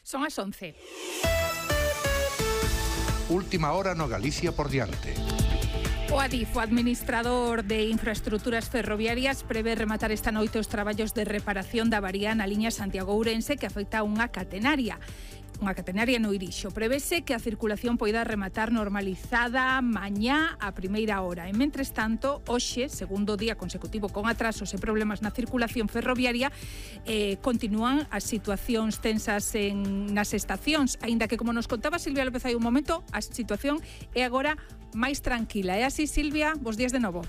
Son as 11. Última hora no Galicia por diante. O Adif, o administrador de infraestructuras ferroviarias, prevé rematar esta noite os traballos de reparación da avaría na liña Santiago-Ourense que afecta a unha catenaria no Irixo. Prevese que a circulación poida rematar normalizada mañá a primeira hora. E, mentres tanto, hoxe, segundo día consecutivo con atrasos e problemas na circulación ferroviaria, continúan as situacións tensas nas estacións, aínda que, como nos contaba Silvia López hai un momento, a situación é agora máis tranquila. É así, Silvia? Bos días de novo.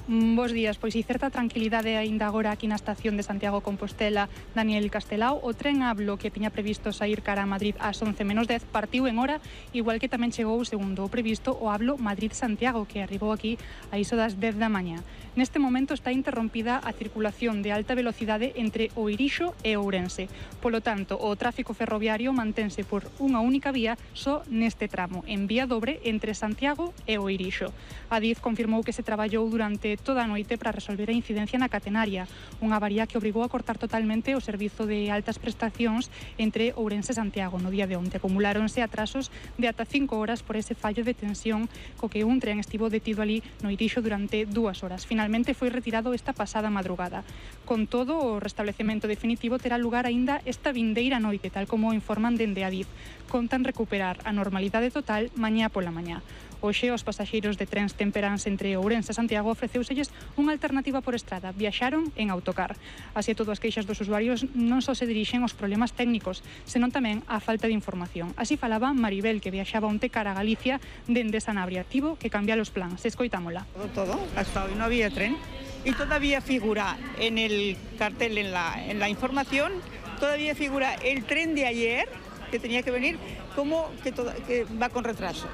Bos días, pois certa tranquilidade aínda agora aquí na estación de Santiago Compostela Daniel Castelao. O tren Ablo que tiña previsto saír cara a Madrid ás 11:10 partiu en hora, igual que tamén chegou segundo o previsto o Ablo Madrid-Santiago que arribou aquí a iso das 10 da mañá. Neste momento está interrompida a circulación de alta velocidade entre o Irixo e Ourense. Polo tanto, o tráfico ferroviario mantense por unha única vía só neste tramo, en vía dobre entre Santiago e o Irixo. Adif confirmou que se traballou durante toda a noite para resolver a incidencia na catenaria, unha avaría que obrigou a cortar totalmente o servizo de altas prestacións entre Ourense e Santiago. No día de onte acumuláronse atrasos de ata 5 horas por ese fallo de tensión co que un tren estivo detido ali no Irixo durante 2 horas. Finalmente foi retirado esta pasada madrugada. Con todo, o restablecemento definitivo terá lugar aínda esta vindeira noite, tal como informan dende Adif. Contan recuperar a normalidade total mañá pola mañá. Hoxe, os pasaxeiros de trens temperáns entre Ourense e Santiago ofreceuselles unha alternativa por estrada. Viaxaron en autocar. Así todo, as queixas dos usuarios non só se dirixen aos problemas técnicos, senón tamén á falta de información. Así falaba Maribel, que viaxaba onte cara a Galicia dende Sanabria. Tivo que cambiar os plans. Escoitámola. Todo. Hasta hoy no había tren. Y todavía figura en el cartel, en la información, todavía figura el tren de ayer, que tenía que venir, como que va con retraso.